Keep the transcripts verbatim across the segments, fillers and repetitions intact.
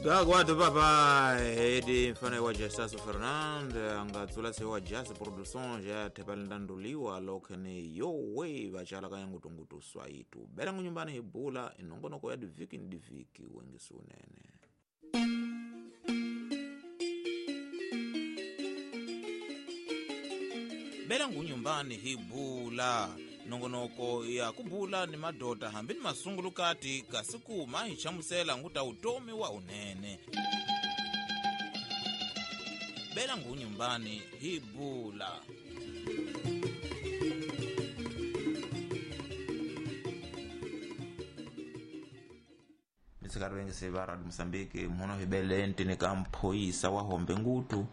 Gagwado papai edi mfano wa Jasaso Fernando angatsula se wa Jazz Production ja tepalindanduliwa lokhene yowe vachala kayangutungutu swaitu bela ngunyumbani hibula inongonoko ya diviki ni diviki wengisunene. Bela ngunyumbani hibula nongonoko ya kubula ni madota hambi ni masungulukati kasi kuma hi chamusela nguta utomi wa unene. Bela ngunyumbani hibula. Mitsikari sevara Mozambique muno hibelente ni kamphoyisa wa hombe ngutu.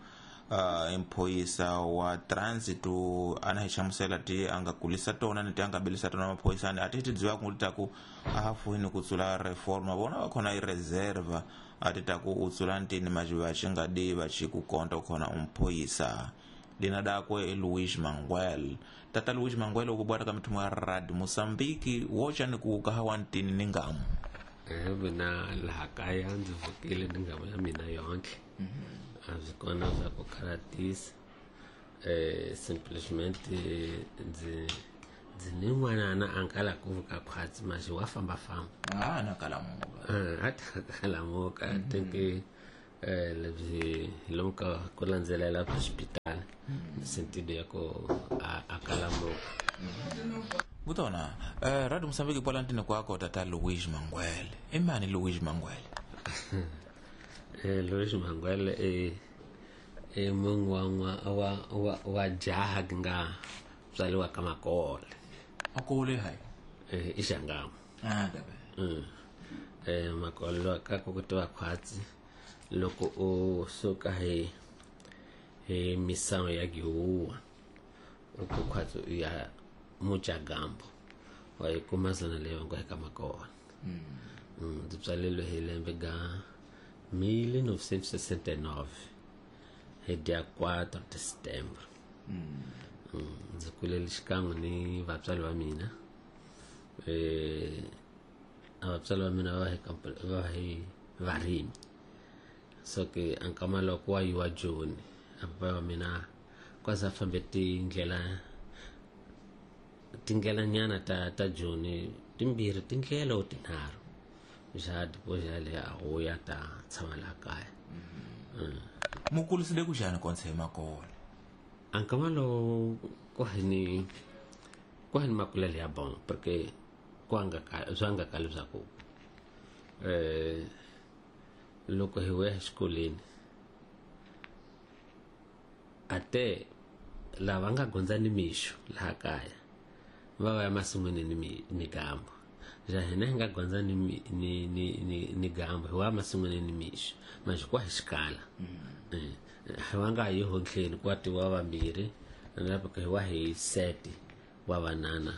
Uh, emphoyisa wa transitu anahichamusela ti angakulisa tona ni ti angabilisa tona maphoyisani ati tidziwa kutaku ahafuhini kutsula reforma vona vakhona i reserva ati taku utsula ntini majiva chingadi vachikukonta ukhona umphoyisa dina dakwe Luis Manguel. Tata Luis Manguel ukubwata ka mithumo ya Radio Mozambique wocha ni kukahawa ntini ni ngamu mina laha kaya ndzi vukile ni ngamu ya mina yonke. A swi kona swa ku karatisa eh simplesmente ndzi ndzi ni n'wanana a nkala ku vuka khwatsi maxi wa fambafamba a na kalamuka a ta kalamuka. I think eh lebyi hi lomu ka ku landzelela hospital sentido ya ku a kalamuka. Kutona eh Radio Mozambique pola ntini kwako tata Luis Manguel. Imani Luis Manguel? Eh Luis Manguel e e mungu wa wa wa wa jaha nga tswaliwa ka Makole. Makole hai eh ishangamo ah dabe mm eh Makole ka ku tiwa khwatsi loko u suka hi hi misango ya Gihuwa u ku khwatsi ya Muchagambo wa yi kuma zona leyo nga ka Makole. Mm ndzi tswalelwe hi lembe ga mil novecentos e sessenta e nove, hi dia quatro de setembro. Ndzi kulele xikan'we ni vatswari va mina. Eh vatswari va mina va hi va hi varimi. So ke ankama loko wa yiwa Joni, papa wa mina kwaza fambe tindlela tindlela nyana ta ta Joni timbirhi tindlela o tinharhu. Ja depois já a rua tá tshama la kaya. Mukulisile kunjani konse Makole? Ankamalo kwani kwani makulele ya bon porque kwanga zwanga kaluza ku eh loko hi we xikolweni ate lava nga gondza ni mixo laha kaya va va ya masin'wini ni ni gambo. Ja hina hi nga gondza ni ni ni ni ni gambo hi wa masin'wini ni mixo manje kwa hi xikala hi wa nga yi hontleni kwa tiwa vambirhi na hi wa hi seti wa vanana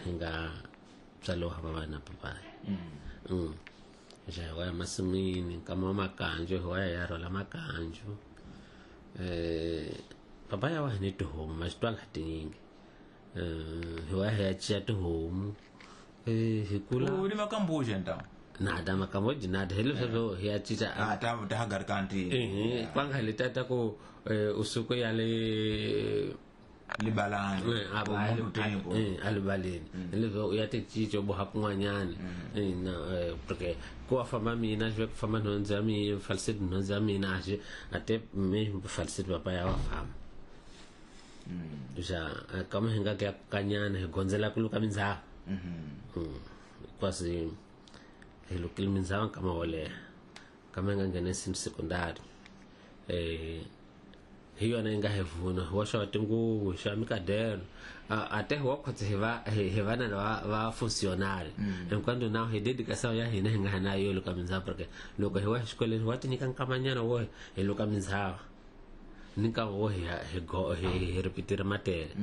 hi nga tswaliwa va vana papai. Mm ja hi wa ya masin'wini nkama wa makanjo hi wa ya ya rhwala makanjo. Eh papa ya wa hi ni tihomu ma xi twanga tinyingi. Eh hi wa hi ya ciya tihomu. Eh hi kula u ni makambuji nta nada makambuji nada hi leswo hi ya cica a ta ta hagar kanti eh kwanga le tata ku usuku ya le libalani eh alibaleni leswo ya ti cica bo ha kun'wanyana eh na porque ku famba mina xi famba nhundzu ya mina falsete nhundzu ya mina xi ate mi falsete papa ya wa famba. Ja kama hi nga ka kanyana hi gondzela ku luka mindzhawu. Mm kwasi hi lukile mindzhawu nkama wo leha kama hi nga nghena ensino secondary eh hi yona yi nga hi vuna hi wa xava tinguvu hi xava mikadeno a te hi wa khotse hi va hi vana va va funcionário enquanto não hi dedicação ya hina hi nga na yo luka mindzhawu porque loko hi wa xikolweni wa ti nyika nkamanyana wo hi luka mindzhawu ni nkarhi wo hi hi hi ripitira matele.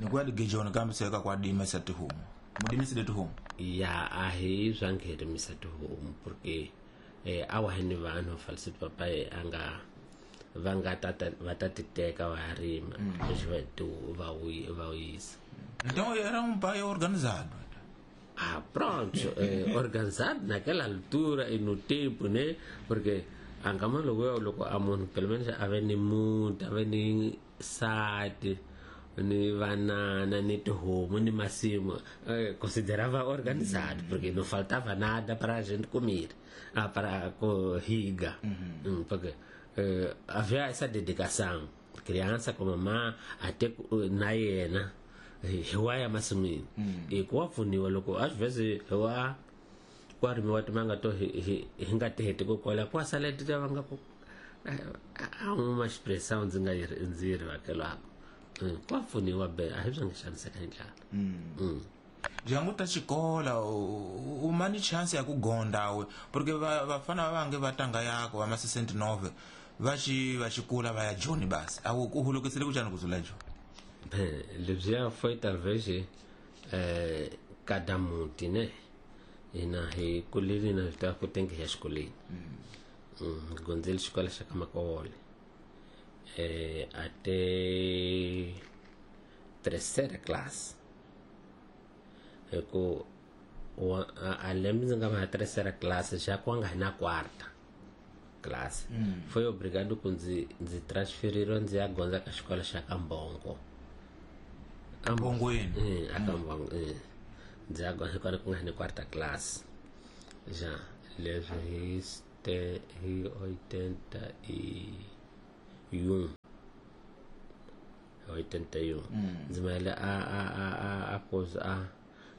Ni kwa digejona kambe seka kwa dimisa tihomu mudimisile tihomu ya a hi swa ngherimisa tihomu porque eh awa hi ni vanhu falsete papa a nga va nga tata va ta ti teka va rima leswi va va va yisa. Então era um pai organizado. Ah, pronto, eh, organizado naquela altura e no tempo, né? Porque angama loko loko a munhu pelo menos a ve ni muti, a ve ni nsati, ni vanana, ni tihomu, ni masimu, eh, considerava organizado, porque não faltava nada para a gente comer, ah, para riga. Uhum. Porque eh, havia essa dedicação, criança com mamã até na yena hi wa ya masin'wini hi ku wa pfuniwa loko às vezes hi wa ku rimiwa timanga to hi hi hi nga ti heti ku kola ku sala ti va nga ku a uma expressão ndzi nga yi ndzi yi rivakelaka ku wa pfuniwa be a hi byi nga xaniseka hi ndlala. Dyangu ta xikola u mani chance ya ku gonda we porque vafana va vange va tanga yako va ma sessenta e nove va xi va xikula va ya Joni basi a ku hulukisile ku xana ku zula jo. Bem, lebyiya foi talvez eh, cada muti, né? Hina hi kulile na ta ku tengi ya xikolweni. Mm, gondzile xikolo xa ka Makole. Eh, até terceira classe. Ku a lembe ndzi nga va terceira classe já ku nga na quarta classe. Mm. Foi obrigado ku ndzi ndzi transferir ndzi ya gondza ka xikolo xa ka Mbongo. Mbongweni. Eh, aka Mbongo. Eh. Ndzi ya gondza kwale ku nga ni quarta classe. Já leswi hi ste hi oitenta e um. oitenta e um. Ndzi maele a a a a a coisa a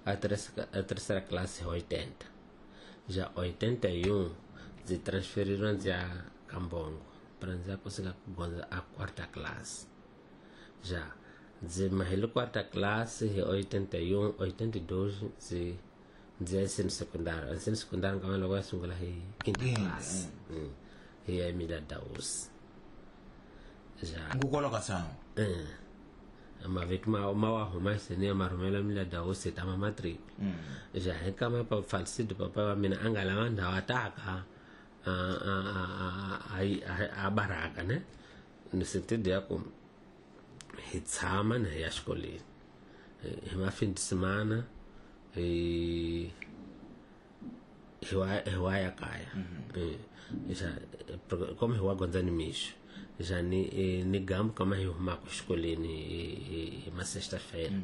a terceira a terceira classe oitenta. Já oitenta e um ndzi transferiram ndzi ya ka Mbongo para ndzi ya conseguir ku gondza a quarta classe. Já ndzi mahele quarta classe hi oitenta e um, oitenta e dois ndzi ndzi ya ensino secundário. Ensino secundário nkama loko ya sungula hi quinta classe. Mm. Hi ya Emilia Daus. Já Ngukolo ka sangu. Eh. Mavito ma ma wa huma sene ma rhumela Emilia Daus ta ma matric. Já hi kama pa falsido papa wa mina a nga lava ndhawu a taka a a a a a baraka, né? No sentido ya ku hi tshama na hi ya xikolweni hi ma fin de semana hi hi wa hi wa ya kaya. Já como hi wa gondza ni mixo já ni ni gambu kama hi humaka xikolweni hi ma sexta-feira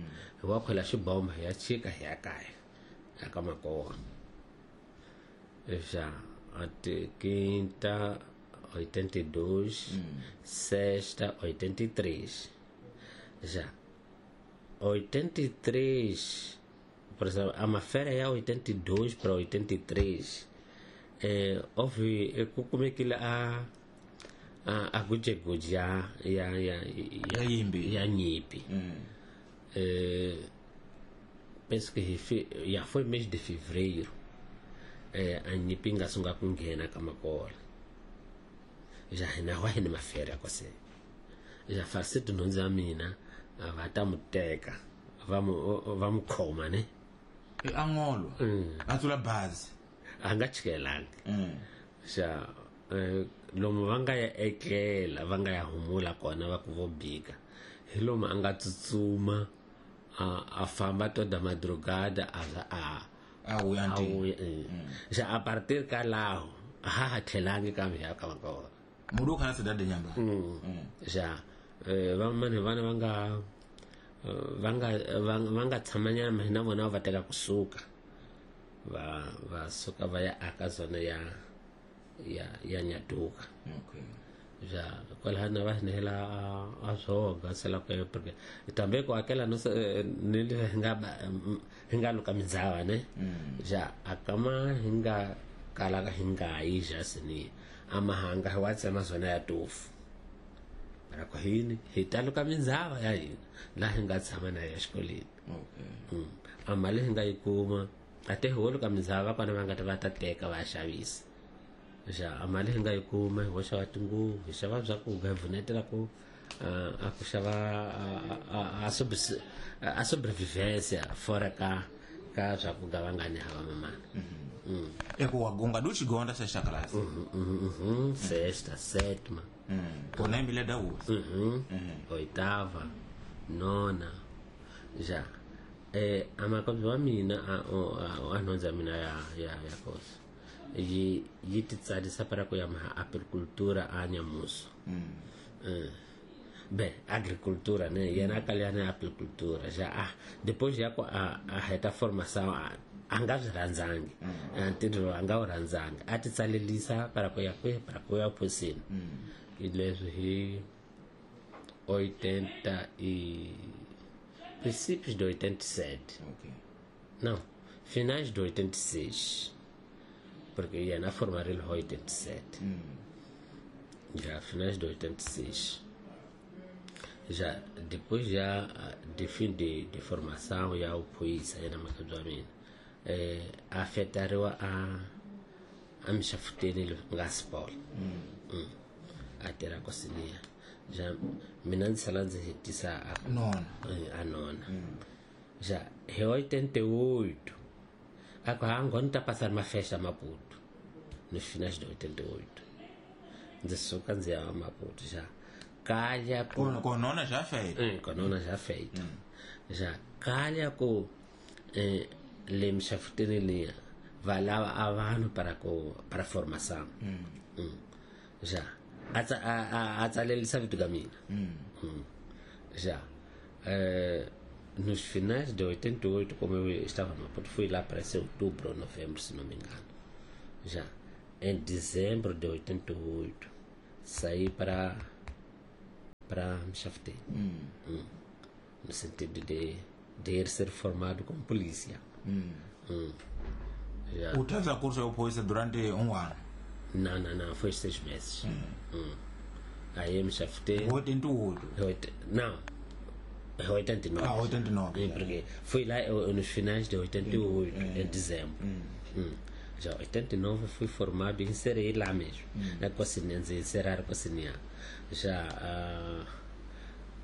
hi wa khwela xibomba hi ya chika hi ya kaya aka Makowa. Já até quinta oitenta e dois, sexta oitenta e três. Já oitenta e três, por exemplo, a mafera é oitenta e dois para oitenta e três. É, houve como é que a a a gujeguji ya ya ya ya yimbi ya nyipi. É, penso que já foi mês de fevereiro. É, a nyipi nga sunga ku nghena ka Makola. Já hina wa hina mafera kwase. Já falsido nhundzu ya mina va ta mu teka va mu va mu khoma, ne? E angolo. A tsula bazi. A nga chikelangi. Xa lomu va nga ya etlela va nga ya humula kona va ku vo bika hi lomu a nga tsutsuma a a famba toda madrugada a za a a wuya a wuya. Xa a partir ka laho a ha ha tlhelangi kambe ya ka Makola. Mudu kana cidade nyamba. Já vamani vana va nga va nga va nga tshamanyana hina vona va teka kusuka va va suka va ya aka zona ya ya ya Nyaduka. Okay. Já kwalano va hinela a swoga sela ku porque também ku akela no ni hi nga hi nga luka mindzava ne. Já akama hi nga kala hi nga yi ja sini amahanga hi wa tsema zona ya tofu para ku hini hi ta luka mindzava ya hina laha hi nga tshama na ya xikolweni. Okay. A mali hi nga yi kuma a te hi wo luka mindzava kona va nga ta va ta teka va ya xavisa. Já a mali hi nga yi kuma hi wo xava tinguvu hi xava swakudya hi pfunetela ku a ku xava a a sobrevivência fora ka ka swakudya va nga ni hava mamana. E ku wagunga du xigonda sexta classe. Sexta, sétima. Kona Emilia Daus. Oitava, nona. Já Eh amakabye wa mina a a nhundzu ya mina ya ya ya kosi yi yi ti tsarisa para ku ya maha agricultura a Nyamuso. Mm. Bem, agricultura, né? Yena kalhana agricultura já ah, depois já a a reta formação a nga swi rhandzangi ntirho a nga wu rhandzangi a ti tsalelisa para ku ya kwihi para ku ya phosini hi leswi hi oitenta e princípios de oitenta e sete. Okay. Não, finais de oitenta e seis, porque yena formarile hi oitenta e sete. Mm. Já finais de oitenta e seis. Já depois já de fim de, de formação ya uphuyisa yena makabye wa mina eh afetariwa a a mixafuteni nga sport. Mm. Mm. A tirha kosinia já mina ndzi sala ndzi hetisa a nona a nona. Mm. Já hi oitenta e oito a ku ha ngoni ta passar uma festa Maputo nos finais de oitenta e oito ndzi suka ndzi ya Maputo já calha com com nona já feita. Eh, com nona já feita. Mm. Já calha com eh, le mixafuteni liya va lava a vanhu para ku para formação. Mm. Mm. Já a a a tsalelisa vito ka mina. Mm. Mm. Já eh, nos finais de oitenta e oito, como eu estava no Maputo, fui lá para ser outubro ou novembro, se não me engano. Já em dezembro de oitenta e oito saí para para Mxafuteni. Mm. Mm. No sentido de de ir ser formado como polícia. Mm. Mm. Já. U teza curso ya upolisa durante um ano? Não, não, não, foi seis meses. Mm. Mm. Aí Mxafuteni. oitenta e oito? Não, oitenta e nove. Ah, oitenta e nove. Porque fui lá eu, nos finais de oitenta e oito, Mm. em dezembro. Mm. Mm. Já oitenta e nove fui formado e inserei lá mesmo. Mm. Na cozinha, ndzi inserar cozinha. Já uh,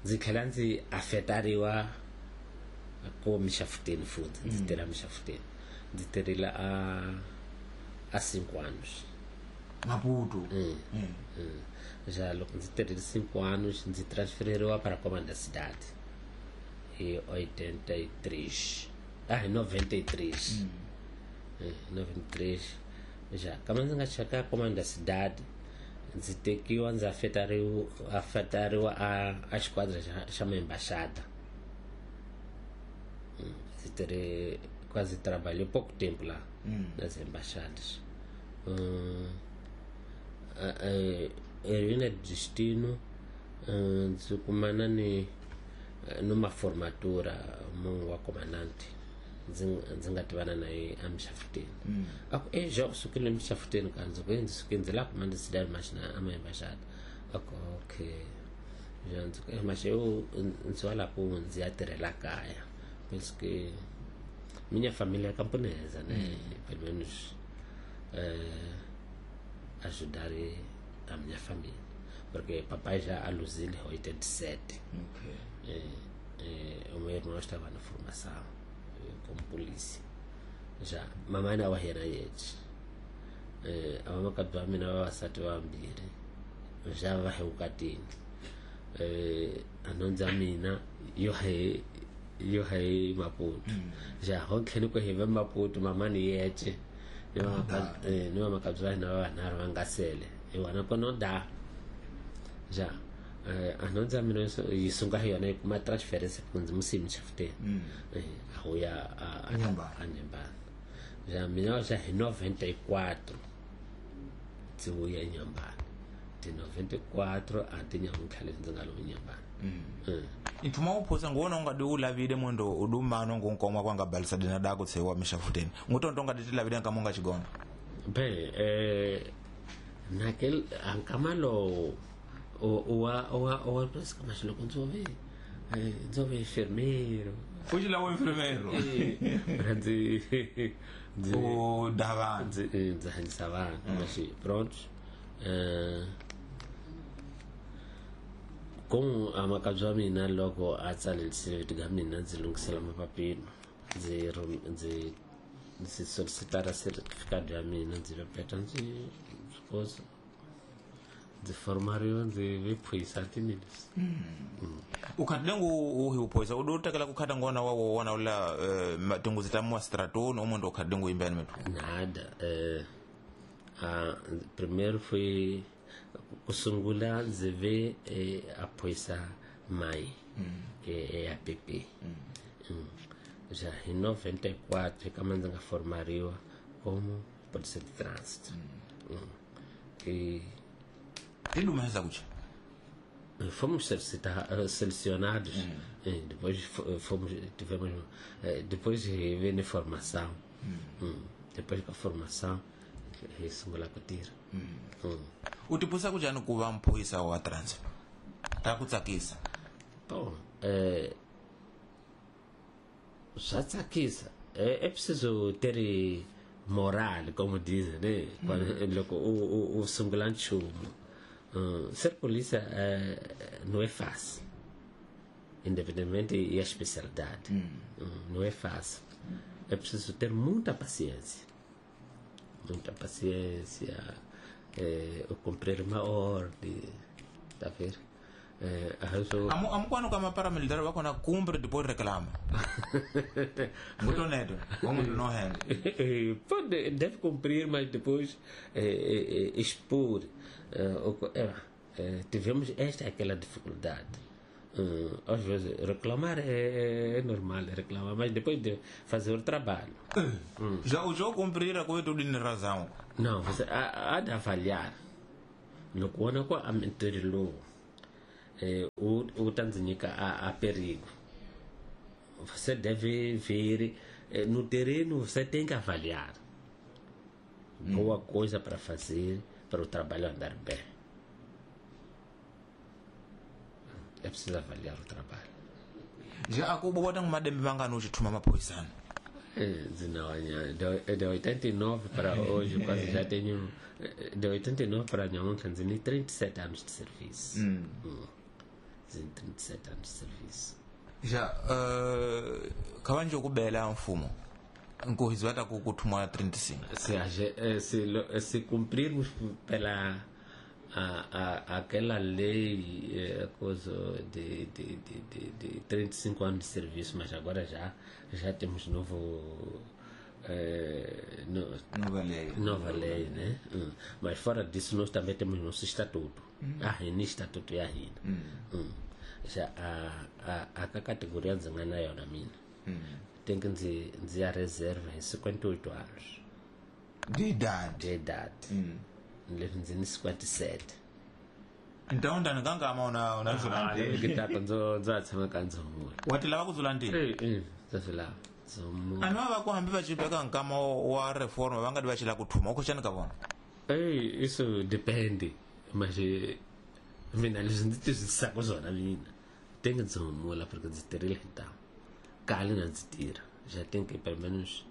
ndzi tlhela ndzi afetariwa ko mixafuteni futhi ndzi tirha mixafuteni ndzi tirhile a a cinco anos. Maputo. Mm. Mm. Mm. Já loko ndzi tirhile cinco anos ndzi transfereriwa para comando da cidade hi oitenta e três. Ah, hi noventa e três. Mm. Eh, noventa e três. Já kama ndzi nga cheka comando da cidade ndzi tekiwa ndzi afetariwa afetariwa a a xiquadra xa, xa embaixada. Hum, ndzi tirhe quase trabalhei pouco tempo lá. Mm. Nas embaixadas. Hum, Heroína de Destino ndzi kumana ni numa formatura munhu wa comandante ndzi ndzi nga tivana na ye emixafuteni. Mm. A ku e já u sukile emixafuteni ka ndzi ku ndzi suke ndzi la comando cidade mas na ama embaixada. A ku okay já ndzi ku mas eu ndzi wa la ku ndzi ya tirhela kaya penso que minha família é camponesa, né? Mm. Pelo menos eh, ajudar a minha família, porque papai já aluziu em oitenta e sete. Okay. Eh, eh, o meu irmão estava na formação eh, como polícia. Já mamãe na wahera yetu. Eh, a mama kabwa mina vavasati vambirhi já va hi vukatini. Eh, anondza mina yo hi yo hi Maputo. Mm. Já ho tlhela ku hi va Maputo mama ni yeche ni va eh ni va makabya na va nharhu va nga sele hi wona kono da já eh anondza mina yi sunga hi yona yi kuma transference ku ndzi musimi xafuteni. Mm. Eh a wu ya a Inhambane. a Inhambane. Já mina já hi noventa e quatro ndzi vuya eNyambane ti noventa e quatro a ti nyamuntlha leswi ndzi nga lo Inhambane. Mm. Mm. Nthuma uphosa ngona ungadi ulavile mwendo udumano ngunkoma kwanga balisa dina dako tsewa mishafuteni ngutonto ungadi tilavile nkamonga chigona. Bem, eh, naquele ankamalo o o o o penso que mas loko ndzove eh ndzove enfermeiro fuji la enfermeiro eh ndzi ndzi o dava ndzi ndzi hanyisa vanhu mas pronto eh como a makabye wa mina loko a tsalelisile vito ka mina ndzi lunghisela mapapilo ndzi ndzi ndzi solicitara certificado ya mina ndzi vepeta ndzi kosa Ndzi formariwa ndzi ve phorisa tinileswi. U khati lengu u hi uphorisa u do tekela ku khata ngona wa wona ula eh, tinguzi ta mua stratoni umuntu u khati lengu imbeni methu. Nada. Eh, ah, primeiro foi ku sungula ndzi ve eh, a phorisa mai eh, eh, A P P. Mm. Já em noventa e quatro kama ndzi nga formariwa como polícia de trânsito. Mm. E Ti lumesa kucha. Fomos selecionados, mm. depois fomos, tivemos, depois veio a formação. Mm. Mm. Depois da formação, sungula ku tirha. Mm. U tipusa ku njhani ku va mphorisa wa trânsito? Ta ku tsakisa? Bom, eh, swa tsakisa. É, é preciso ter moral, como dizem, né? Quando loko u u sungula nchumu. Uh, ser polícia uh, não é fácil, independentemente da especialidade. Mm. Uh, não é fácil. É preciso ter muita paciência, muita paciência, eh, cumprir uma ordem, tá vendo? Eh, Amo amo quando kama paramilitar va kona cumpre depois reclama. Muito neto, como não é? Pode, deve cumprir, mas depois eh, eh, expor. Eh, eh, tivemos esta aquela dificuldade. Uh, às vezes reclamar é, é normal, reclamar, mas depois de fazer o trabalho. Hum. Já o jogo cumprir a coisa tudo em razão. Não, você há, há de avaliar. Loko wona ku a ntirho lowu eh, wu wu ta ndzi nyika a, a perigo. Você deve ver eh, no terreno, você tem que avaliar. Boa coisa para fazer para o trabalho andar bem. É preciso avaliar o trabalho. Já a Cuba bota uma dembe mangano hoje tuma maphorisana. É, de, de oitenta e nove para hoje, quase já tenho. De oitenta e nove para ontem, tenho trinta e sete anos de serviço. Hum. Hum. trinta e sete anos de serviço. Já, uh, kavanje kubela mfumo. Nkohizi vata kukuthuma trinta e cinco. Se, se, se cumprirmos pela a, a, aquela lei, coisa de, de, de, de, de trinta e cinco anos de serviço, mas agora já, já temos novo, eh, no, nova lei. Nova lei, né? Hum. Mas fora disso, nós também temos nosso estatuto. Hum. A R I N, estatuto e a R I N. Hum. Hum. Já a, a, a, a categoria ndzi nga na yona mina. Hum. Tem que dizer a reserva em cinquenta e oito anos. De idade? De idade. Hum. Ndzi cinquenta e sete. Então ndani kangama una una zulantini. Ngitaka ndzo ndzo tshama ka ndzomula. Wati lava ku zulantini? Eh eh, ndza lava. Ndzomula. Anhu va ku hambi va chipeka nkama wa reforma va nga di va chila ku thuma u khotshani ka vona. Eh, isso depende. Mas mina leswi ndzi twisisaka swona mina. Tem que ndzomula porque ndzi tirhile hi ntamu. Kale na ndzi tirha. Já tem que pelo menos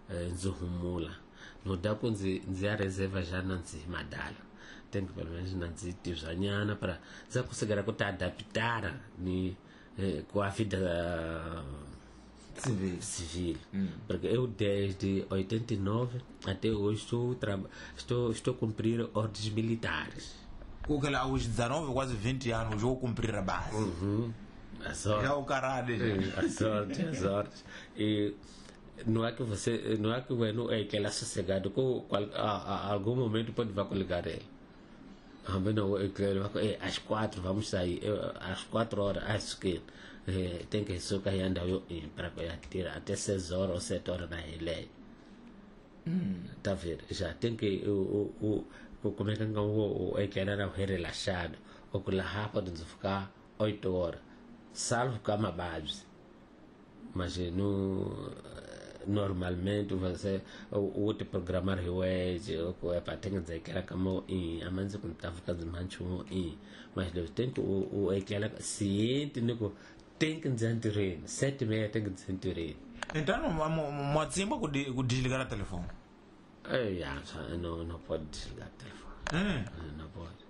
ndzi humula. No dá ku ndzi ndzi ya reserva já na ndzi madala. Tem que pelo menos na ndzi tibyanyana para ndza conseguir ku ta adaptar ni eh, com a vida civil, civil. Hum. Porque eu desde oitenta e nove até hoje estou estou estou a cumprir ordens militares. O que lá aos dezenove, quase vinte anos, vou cumprir a base. Uhum. As ordens. É o caralho. As ordens, as ordens. E não é que você, não é que o não é que ele é sossegado, com qual, a, a, algum momento pode vai coligar ele. Ah, mas não, eu quero, às quatro vamos sair, eu, às quatro horas, acho que eh, tem que socar e andar eu para tirar até seis horas ou sete horas na relé. Hum. Tá vendo? Já tem que o o o como é que o o é que era relaxado, o que lá rápido ficar oito horas, salvo cama base. Mas no normalmente você o outro programar hoje o é para ter que dizer que era como em a menos que estava ficando mancho em mas deve ter que o o é que ela ciente no tem que dizer terreno sete e meia tem que dizer terreno. Então mwatsimba ku desligar o telefone. É, não não pode desligar o telefone. Hum. Não pode.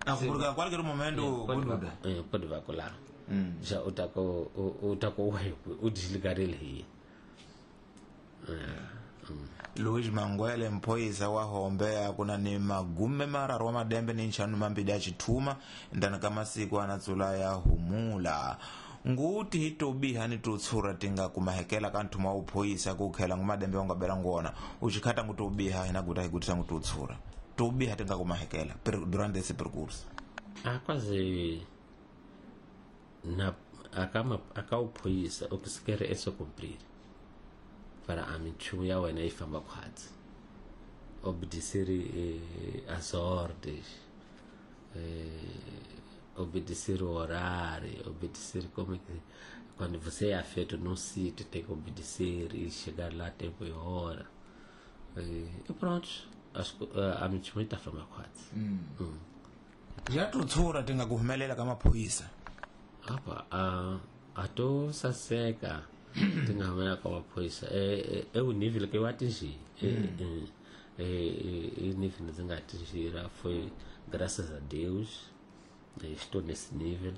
Ah, porque a qualquer momento pode pode vacular. Hum. Já o taco o o taco o desligar ele. Luis Mangwele mphoyisa wa Hombe akuna ni magume mararu wa madembe ni nxanu mambili ya xithuma ndani ka masiku anatsula ya humula nguti hi tobiha ni tutshura tinga kumahekela ka nthuma wa uphoyisa ku khela ngumadembe wa nga bela ngona uxikhata ngu tobiha hina guta hi gutisa ngu tutshura tobiha tinga kumahekela durante esse percurso a quase na acaba acaba uphoyisa o que se quer é só cumprir para a minchumu ya wena yi famba khwatsi obedecer eh, as ordens eh, obedecer o horário, obedecer como é que quando você é afeto num sítio tem que obedecer e chegar lá a tempo e hora e, e pronto, acho que a minchumu ta famba khwatsi. mm. mm. Ya tutshura tinga ku humelela ka maphoyisa apa a a to saseka tinga humelela ka maphoyisa é é o nível que eu atingi é é nível ndzi nga atingira foi graças a Deus, estou nesse nível,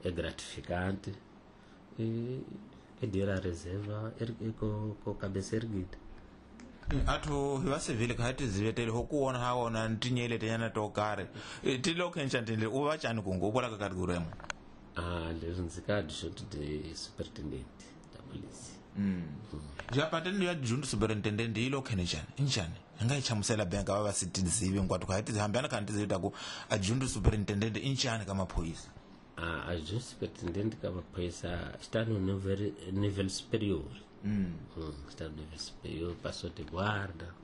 é gratificante e é de ir à reserva e com com cabeça erguida. Athu hi va civil kha ti zivetele ho ku wona ha wona ntinyele tenyana to karhi ti lo khencha tindle u va tshani kungu u vola ka category yin'we. Ah, leswi ndzi ka adjunto de superintendente da polícia. Mm. Ja patente ya adjunto superintendente yi lo khenechani injani hi nga yi hlamusela bank va va si tizivi hinkwato kha hi ti hambana kha ni tizivi ta ku adjunto superintendente i njhani ka maphorisa? Ah, adjunto superintendente ka maphorisa está no nível, nível superior. Mm. Hum, está no nível superior, passou de guarda,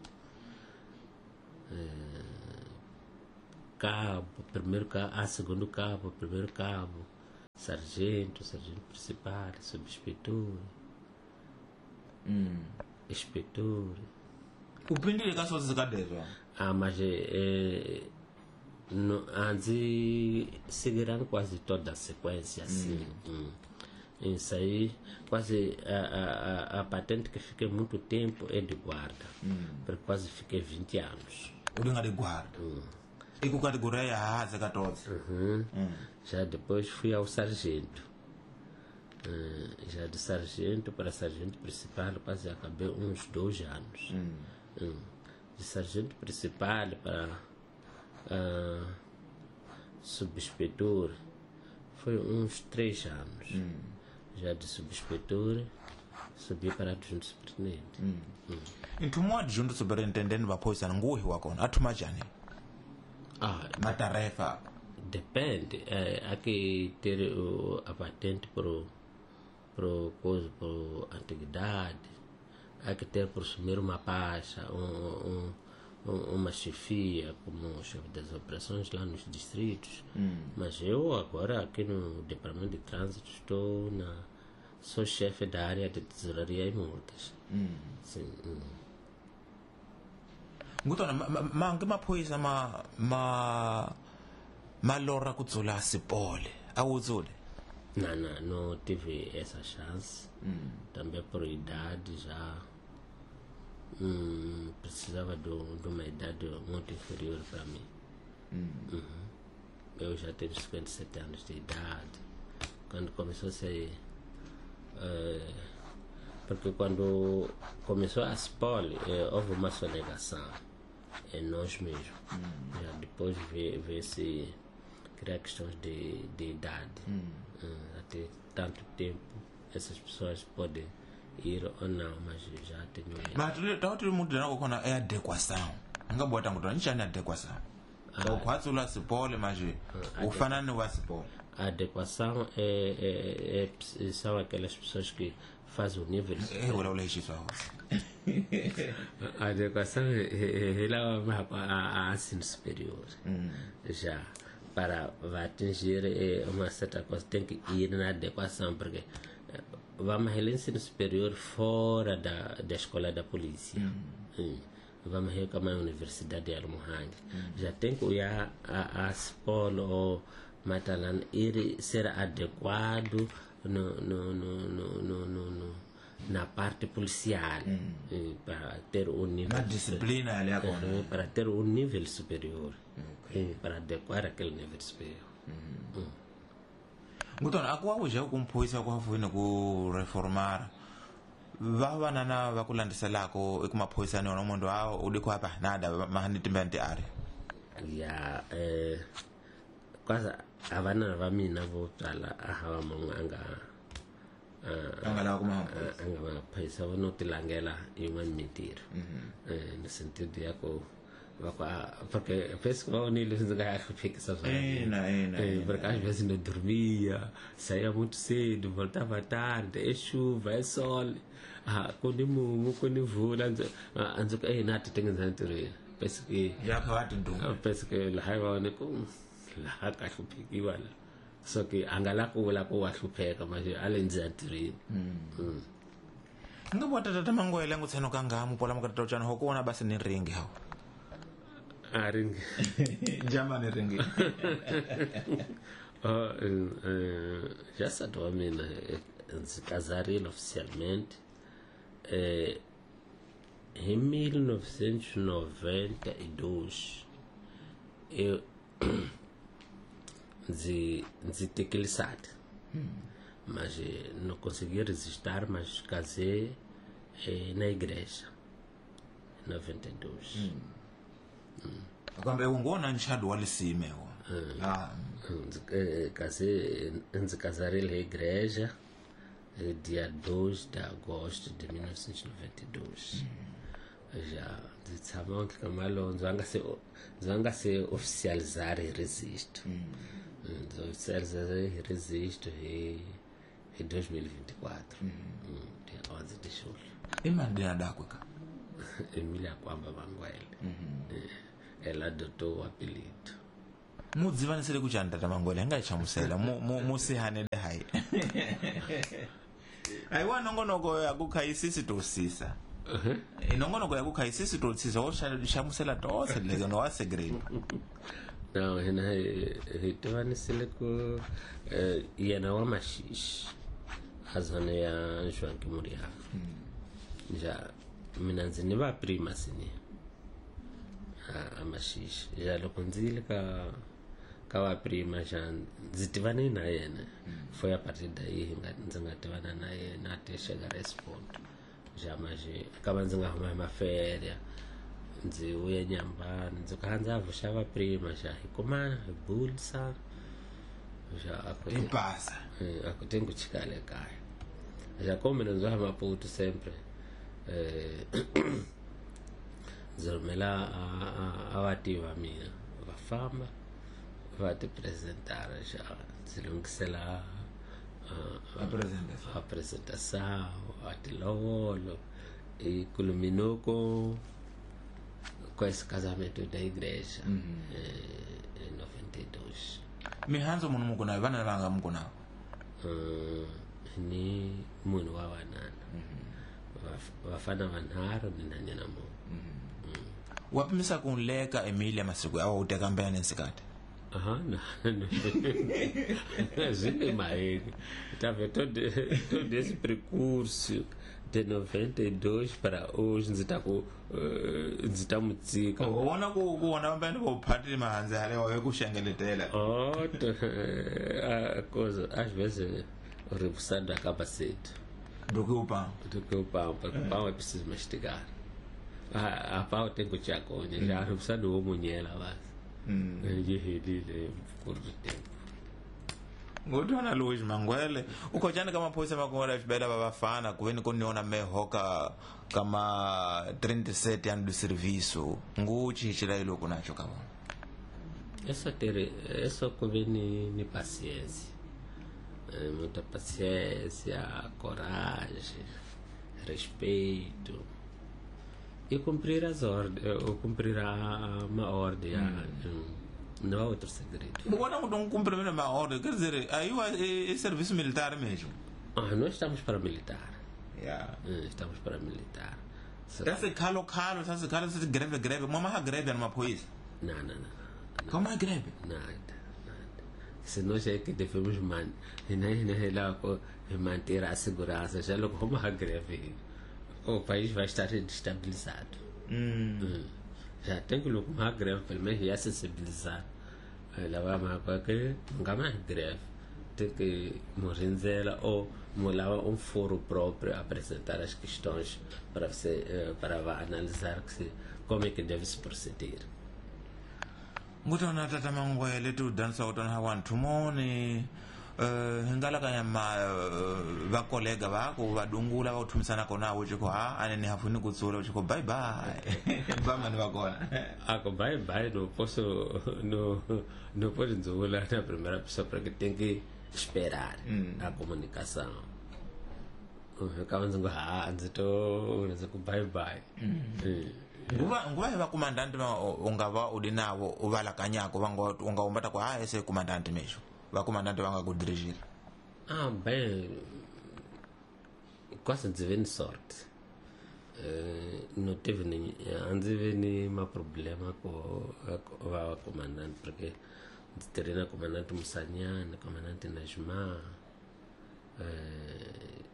eh, cabo, primeiro cabo, ah, segundo cabo, primeiro cabo, sargento, sargento principal, subinspetor, mm. inspetor. Upindile ka swo zikadezwa? Ah, mas eh, no, antes seguirão quase toda a sequência assim. Mm. Hum. Isso aí, quase a, a, a patente que fiquei muito tempo é de guarda. Mm. Porque quase fiquei vinte anos. O de guarda? Mm. E com categoria ya todos? Uhum. Mm. Já depois fui ao sargento. Uh, já de sargento para sargento principal quase acabei uns dois anos. Mm. Mm. De sargento principal para uh, subinspetor foi uns três anos. Mm. Já de subinspetor subi para adjunto superintendente. Mm. Mm. Ntumo adjunto superintendente vaphoyisa nguhi wa kona athuma njhani? Ah, matarefa depende, eh, há que ter o, a patente pro pro coisa, pro antiguidade, há que ter por assumir uma pasta, um, um, uma chefia como chefe das operações lá nos distritos. Mm. Mas eu agora aqui no departamento de trânsito estou na sou chefe da área de tesouraria e multas. Mm. Sim. Mm. Ngutona mangi maphoyisa ma ma ma lora ku dzula sipole a wu dzule? Não, não, não tive essa chance. Mm. Também por idade já hum, precisava de, de uma idade muito inferior para mim. Mm. Uhum. Eu já tenho cinquenta e sete anos de idade. Quando começou a ser uh, porque quando começou a SPOL, eh, houve uma sonegação em nós mesmos. Mm. Já depois vê, vê se criar questões de, de idade. Mm. Hum, até tanto tempo essas pessoas podem ir ou não, mas já tenho. Mas tu tu muito não com a adequação. Nga bota nguto nchani adequação. Ah, o quase lá SPOL, mas o fanano wa SPOL. A adequação é, é, é, são aquelas pessoas que fazem o nível. É o leite só. A adequação é ela a ensino superior. Mm. Já para atingir uma certa coisa tem que ir na adequação, porque vamos ao ensino superior fora da, da escola da polícia. Mm. Hum. Vamos ver como é a Universidade de Almohang. Mm. Já tem que ir a, a, a SPOL ou Matalan ir ser adequado no, no, no, no, no, no, no, na parte policial. Mm. Para ter um nível na disciplina ali agora. Uhum, para ter um nível superior. Okay. Para adequar aquele nível superior. Mm. Mm. Ngutona akuwa uja kumphoyisa kwafuina ku reformar Va vanana va ku landziselako eku maphoyisani wona munhu a u di ku apa nada mahani timbe nti ari. Ya eh quase a vana va mina vo tala a hava munhu a nga a nga lava ku a nga maphorisa vo no tilangela yin'wana mintirho eh no sentido ya ku va ku porque penso que va unir ndzi nga ya hluphekisa swona. Ina ina. Porque às vezes não dormia, saía muito cedo, voltava tarde, é chuva, é sol, ah, quando mumu, quando mvula, ndzi ku eh na ti tengenza ntirhweni. Penso que ya kha va tinduma. Penso que laha va ni ku laha ka hluphekiwa la. Só que a nga la ku vula ku wa hlupheka manje a le ndzi ntirhweni. Nga vota tata Mangwele ngutsheno kanga mupola mukatata uchana hokuona basi ni ringi hao. A ringi. Jama ni ringi. Oh, já nsati wa mina ndzi casarile oficialmente eh em mil novecentos e noventa e dois eu ndzi ndzi tekile nsati. Mas não consegui resistir, mas casei eh, na igreja em noventa e dois. Hum. Kambe ungona nchado wa lisime wo. Ah, casei, ndzi casarile na igreja dia dois de agosto de mil novecentos e noventa e dois. Já ndzi tshama ka Malonzo a nga se ndzi nga se oficializar registro. Ndzi oficializar registro hi hi dois mil e vinte e quatro. Dia onze de julho. Imali dakwe ka? Emília Kwamba Mangwele. Ela adotou o apelido. Mudzivanisele kuchani tata Mangwele nga chamusela mu mu sihanele hayi. Aiwa nongonoko yakukhayisisi tosisa. Inongonoko yakukhayisisi tosisa wo chamusela tose leke no wa segredo. Não, hina hi tivanisele ku yena wa Maxixe a zona ya João Kimuriaga. Já mina ndzi ni va prima sini a Maxixe já loko ndzi yile ka ka va prima já ndzi tivane na yena. Foi a partir daí hi nga ndzi nga tivana na yena até chegar a esse ponto. Já mas acaba ndzi nga huma hi maférias ndzi vuya Nyambani ndzi ka ndza vuxa va prima já hi kumana hi bulisa já a ku pasa a ku tengo chikale kaya já como mina ndzi va Maputo sempre eh ndzi rhumela a vativi va mina va famba va ti apresentar já ndzi lunghisela a apresentação a tilovolo e culminou com com esse casamento da igreja. Uhum. Em noventa e dois. Mihanzo munhu mukuna vana vanga mukuna? Uh, ni munhu wa vanana. Vafana vanharhu ni nhwanyana munhu. Wa pimisa ku leka Emilia masiku awa u teka mbene nsikati? Aham, não. Zile maheni. Tá vendo todo todo esse percurso de noventa e dois para hoje ndzi ta ku ndzi ta mutsika. U vona ku ku vona mbene vo phatile mahanzi halewa hi ku xengeletela. Oh, a coisa às vezes o rebuçado acaba cedo. Do que o pão. Do que o pão, porque o pão é preciso mastigar. A, a pau tem que te aconha, já rebuçado o munhela basi. Mm. Yi helile curto tempo. Ngotwana Luis Mangwele ukhojana ka maphoyisa makongora xibela va vafana ku veni ku niona mehoka kama trinta e sete anos de serviço nguchi xila iloko nacho ka vona. É só ter, é só ku ve ni ni paciência. É, muita paciência, coragem, respeito. E cumprir as ordens, ou cumprir a, uma ordem, hum. Não há outro segredo. Agora não cumprir uma ordem, quer dizer, aí é, é serviço militar mesmo. Ah, nós estamos para militar. Yeah. Estamos para militar. Essa calo calo, essa calo, essa greve greve, uma greve numa polícia. Não, não, não. Como é greve? Nada, nada. Se nós é que devemos man, manter a segurança, já logo como a greve. O país vai estar destabilizado. Hum. Hum. Já tem que uma greve, pelo menos já sensibilizar. Ela vai mais que nunca mais greve. Tem que morrenzela ou molava um foro próprio a apresentar as questões para você, para analisar que se, como é que deve se proceder. Ngutona tata Mangwele tu dansa utona hawantu moni uh, hingala kanyama uh, vakolega vako vadungula vauthumisana kona uchiko ha anene hafuni kutsula uchiko bye bye vamani vakona ako bye bye não posso não não posso nzula na primeira pessoa porque tem que esperar mm. a comunicação. Ficava dizendo ah ndzi to ndzi ku bye bye. Nguva nguva va comandante unga va udi navo u va lakanyako va ngo unga umbata ku ha ese comandante mesho va comandante va nga ku dirigir. Ah bem, quase ndzi ve ni sorte. Uh, não teve nem a ndzi ve ni ma problema ko va comandante porque ndzi tirhe na comandante Musanyana, comandante Najma, uh,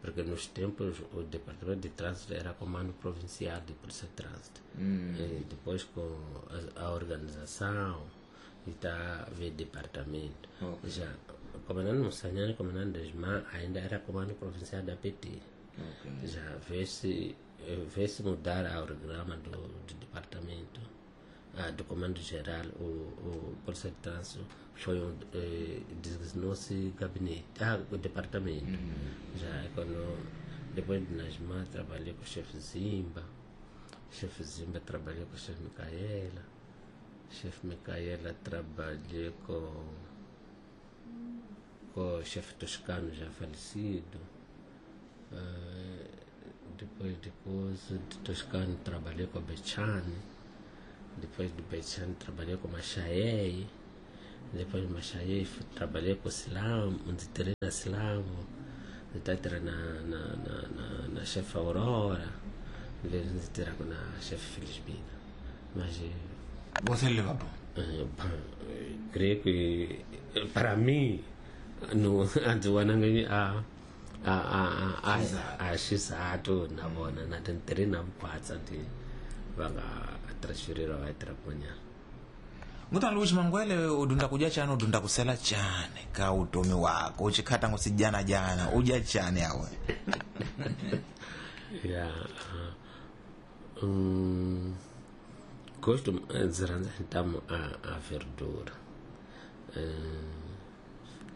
porque nos tempos o departamento de trânsito era comando provincial de polícia de trânsito. Mm. E depois com a, a organização e tá veio departamento. Okay. Já o comandante Musanyana, o comandante Najma ainda era comando provincial da P T. Okay. Já vê-se vê-se mudar a organograma do, do departamento, ah, do comando geral, o, o polícia de trânsito foi um, eh, designou-se gabinete, ah, o departamento. Uhum. Já quando depois de Najma trabalhei com o chefe Zimba, o chefe Zimba trabalhei com o chefe Micaela, o chefe Micaela trabalhei com, com o chefe Toscano já falecido. Uh, depois de coisa de Toscano trabalhei com a Bechane, depois de Bechane trabalhei com Machaei, depois de Machaei trabalhei com Silam, onde tirei na Silamo, depois tirei na, na, na, na, na chefe Aurora, depois tirei na chefe Felizmina. Mas você leva bom? Uh, bom, creio que para mim, no antes a a a a a xisatu na vona na tintirhi na vukhwatsa ti va nga transfeririwa va tirha kun'wanyana. Ngutana Luis Mangwele udunda kudya chani udunda kusela chani ka utomi wako uchikhata ngusijana jana udya chani awe. Ya um, gosto ndzi rhandza ntamu a a verdura. Um,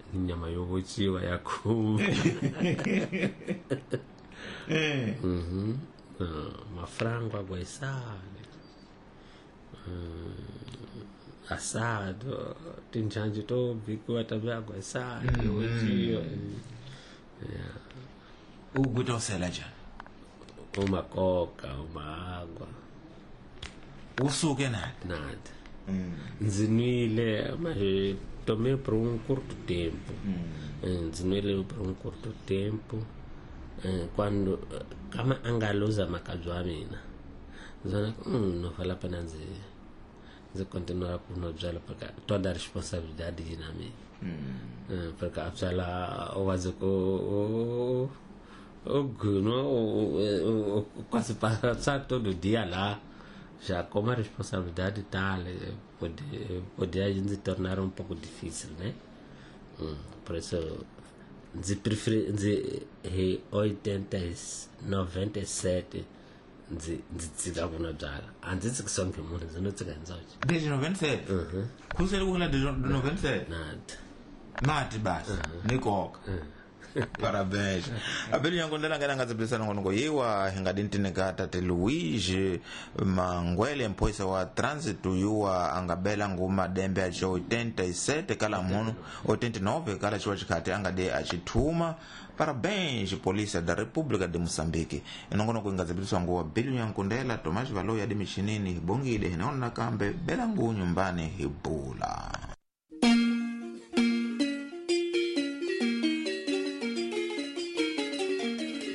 nyama yo vociwa ya khume. Mhm. Mafrango aguaisale, assado, tinjanje to bikiwa tambe aguaisale yo vociwa. Yeah. Ugutosela njani? Uma coca, uma água. Usuke nada? Nada. Ndzi nwile mas tomei por um curto tempo. Hum. Ndzi nwile por um curto tempo. Quando kama angaluza makabyi wa mina ndzi vona hum, não vale a pena ndzi ndzi continuar ku nwa byala porque toda a responsabilidade yi na mina. Hum. Porque a byala u wazi ku u gunwa quase passar todo dia lá. Já como a responsabilidade tal, pode, poder se tornar um pouco difícil, né? Hum, por isso, de preferir, de oitenta, noventa e sete, de de na byala. Antes que só que mundo, não te ganha. Desde noventa e sete? Uhum. Kusele kula de noventa e sete? Nada. Mati basi, nikoka. Parabéns. Abeli nyango ndela ngena ngadzibisana ngono yiwa hingadintineka tate Luigi Mangwele mphoyisa wa trânsito yuwa angabela nguma dembe acho oitenta e sete kala muno oitenta e nove kala chiwa chikhati angade achithuma. Parabéns Polícia da República de Moçambique. Inongonoko ingadzibiliswa nguwa Bili Nyankundela Tomás Valoya de Michinini Hibongile hinaona kambe bela ngu nyumbani hibula.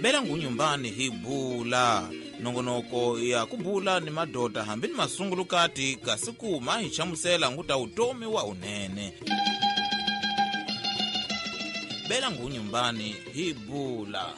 Bela ngunyumbani hibula nongonoko ya kubula ni madota hambi ni masungulukati kasi kuma hi chamusela nguta utomi wa unene. Bela ngunyumbani hibula.